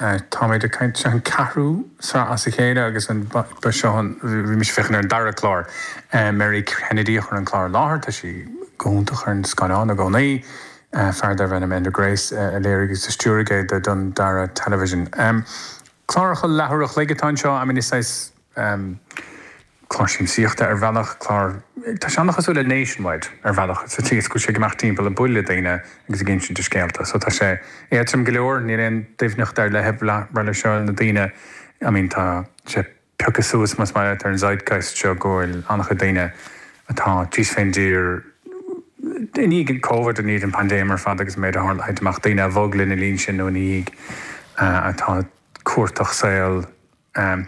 Táimid ag caint, seo an ceathrú sraith as a chéile agus an ba seo an, bhí mise ag féachaint ar an dara clár. Mary Kennedy a chuir an clár i láthair, tá sí go hiontach ar an scáileán i gcónaí. Fear darbh ainm Enda Grace a léirigh agus a stiúraigh é do Dandara Television. Cláracha leathuair a chloig atá anseo, I mean is saghas clár siamsaíochta ar bhealach, clár, tá sé an-chosúil le Nationwide ar bhealach, sa tslí is go bhfuil sé ag imeacht timpeall ag bualadh le daoine agus ag insint a scéalta. So tá sé éadtrom go leor, níl aon doimhneacht ar leith ag brath leis seo, na daoine, I mean tá sé pioctha suas más maith leat ar an zeitgeist seo go bhfuil an-chuid daoine atá thíos fén dtír i ndiaidh Covid, i ndiaidh an paindéim ar fad agus an méid a tharla, a thit amach, daoine a bhog lena linn sin nó ina dhiaidh atá ag cuartach saol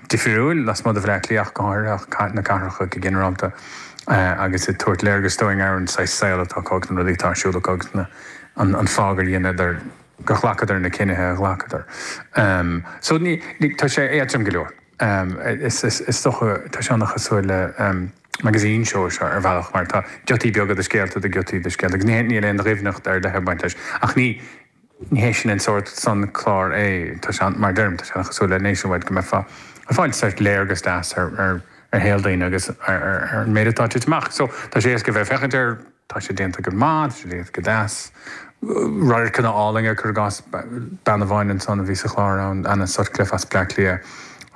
difriúil lasmuigh de Bhaile Átha Cliath ach go háirithe, ach na cathracha go ginearálta, agus ag tabhairt léargas dúinn ar an saghas saol atá acu agus na rudaí atá ar siúl acu agus na, an fáth gur dheineadar, gur ghlacadar na cinnithe a ghlacadar. So ní, tá sé éadtrom go leor. Is, is dócha, tá sé an-chosúil le magazine show seo ar bhealach mar tá giotaí beaga de scéalta de ghiotaí de scéalta agus ní, níl aon dhoimhneacht ar leith ag baint leis ach ní, Ní hé sin an sórt san clár é. Tá sé, mar a deirim, tá sé an-chosúil le Nationwide go mbeifeá ag fáil sórt léargas deas ar ar shaol daoine agus ar ar an méid atá ag titim amach. So, tá sé éasca a bheith ag féachaint air, tá sé déanta go maith, tá sé déanta go deas. Radharcanna álainne, cuir i gcás, bean amháin ansan a bhí sa chlár ann, Anna Sutcliffe as Bleá Cliath,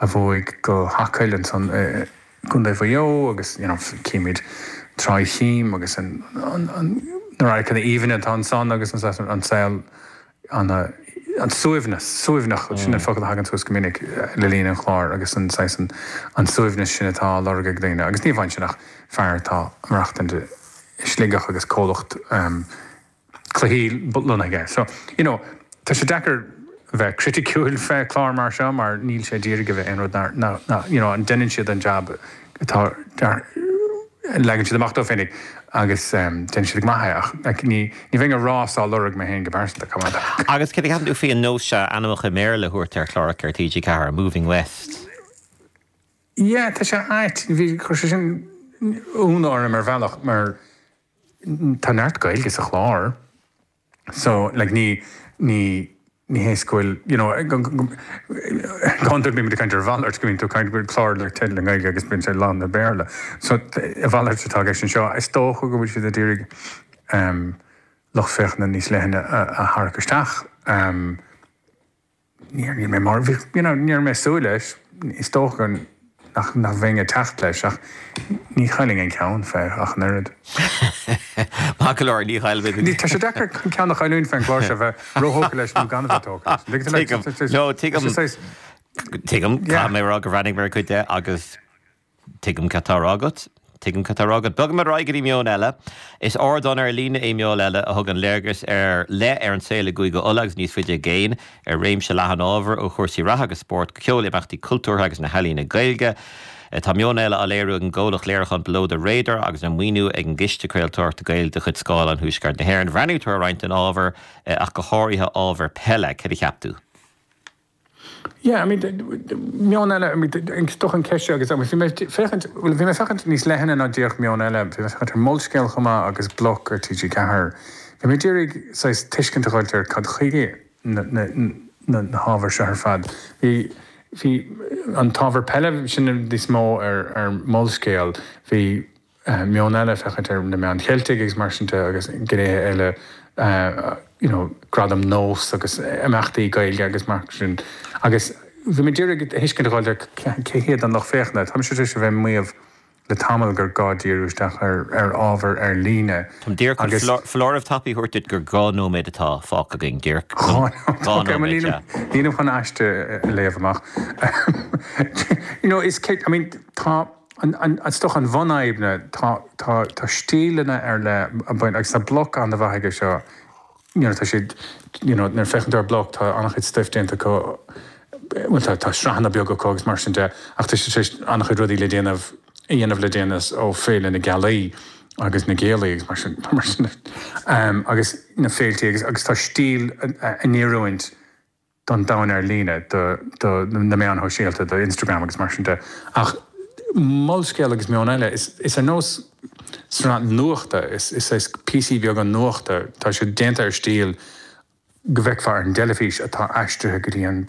a bhuaigh go hAcaill ansan i gContae Mhaigh Eo agus, you know, címid Tráigh Chím agus an, an, an, na radharcanna aoibhinn atá ansan agus an, an saol an, an suaimhneas, suaimhneach, sin an focal a thagann suas go minic le linn an chláir agus an saghas, an, an suaimhneas sin atá á lorg ag daoine agus ní amháin sin ach fear atá ag maireachtaint i Sligeach agus comhlacht cluichí lonnaithe aige. So, you know, tá sé deacair bheith criticiúil fé chlár mar seo mar níl sé d'iarraidh a bheith aon rud ná, ná, ná, you know, an déanann siad an jab atá, leagann siad amach dóibh féinig agus déanann siad go maith é ach like, ní, ní bheinn ag rá is á lorg mé féin go pearsanta, come on. Agus céard a cheapann tú faoi an nós seo ainmneacha i mBéarla a thabhairt ar chláracha ar TG4, Moving West? Yeah, tá sé ait. Bhí, chuir sé sin ionadh orm ar bhealach mar Tá neart Gaeilge sa chlár so like ní ní ní hé is go bhfuil you know go hiondúil bímid ag caint ar a mhalairt go mbíonn tú ag caint go bhfuil clár le teideal i nGaeilge agus bíonn sé lán le Béarla. So a mhalairt atá i gceist anseo. Is dócha go bhfuil siad ag iarraidh um lucht féachana níos leithne a a tharrac isteach. Um Níor, níl mé mar, bhí, you know, ní raibh mé ag súil leis, is dócha nach, nach bheinn ag teacht leis ach ní chaillfinn an ceann fé ach an oiread. Maith go leor, ní chaillfidh. Ní, tá sé deacair an ceann a chailliúint fén gclár seo, bheith róthógtha leis nó gan a bheith tógtha leis. Tuigim, no, tuigim, tuigim, caithfidh mé a rá gur bhreathnaigh mé ar cuid de agus Tuigim cad tá á rá agat. Tuigim cad tá á rá agat. Bogfaimid ar aghaidh go dtí Meon Eile. Is ardán ar líne é Meon Eile a thugann léargas ar leith ar an saol i gCúige Uladh agus níos faide i gcéin, ar réimse leathan ábhar, ó chúrsaí reatha agus spóirt go ceol, imeachtaí cultúrtha agus na healaíona Gaeilge. Tá Meon Eile á léiriú ag an gcomhlacht léiriúcháin Below the Radar agus á maoiniú ag an gCiste Craoltóireachta Gaeilge de chuid Scáileán Thuaisceart na hÉireann. Bhreathnaigh tú ar roinnt den ábhar, ach go háirithe ábhar peile. Céard a cheap tú? Yeah, I mean, Meon Eile, I mean, is dócha an ceist seo agus bhí mé ag féachaint, bhuel, bhí mé ag féachaint níos leithne ná díreach Meon Eile, bhí mé ag féachaint ar Molscéal chomh maith agus Bloc ar TG4. Bhí mé ag iarraidh saghas tuiscint a dh'fháilt ar cad chuige na, na, na, na hábhair seo ar fad. Bhí, bhí an t-ábhar peile sin níos mó ar, ar Molscéal, bhí Meon Eile, féachaint ar na meáin Cheiltigh agus mar sin de agus gnéithe eile you know Gradaim Nós agus imeachtaí Gaeilge agus mar sin agus bhí mé ag iarraidh tuiscint a dh'fháilt ar cé hiad an lucht féachana. Tá mise tar éis a bheith ag maíomh le tamall gur gá díriú isteach ar ar ábhar ar líne Táim díreach chun agus. foláireamh tapaidh a thabhairt duit gur 2 nóiméad atá fágtha againn, díreach 2 2 nóiméad, yeah. Nílim chun aiste a léamh amach. You know is I mean tá. Is dócha an bhunfhadhb ná tá tá tá stíleanna ar leith ag baint agus tá Bloc an-mhaith aige seo you know tá siad you know nuair a féachann tú ar Bloc tá an-chuid stuif déanta acu bhuel tá tá sraitheanna beaga acu agus mar sin de ach tá siad tar éis an-chuid rudaí le déanamh a dhéanamh le déanaí ó Féile na Gealaí agus na Géalaí agus mar sin mar sin agus na féiltí agus agus tá stíl in oiriúint don domhan ar líne, do na meáin shóisialta, do Instagram agus mar sin de. Ach Molscéal agus Meon Eile, is ar nós sraith nuachta, is saghas píosaí beaga nuachta, tá siad déanta ar stíl go bhfeicfeá ar an dteilifís atá aistrithe go dtí an domhan.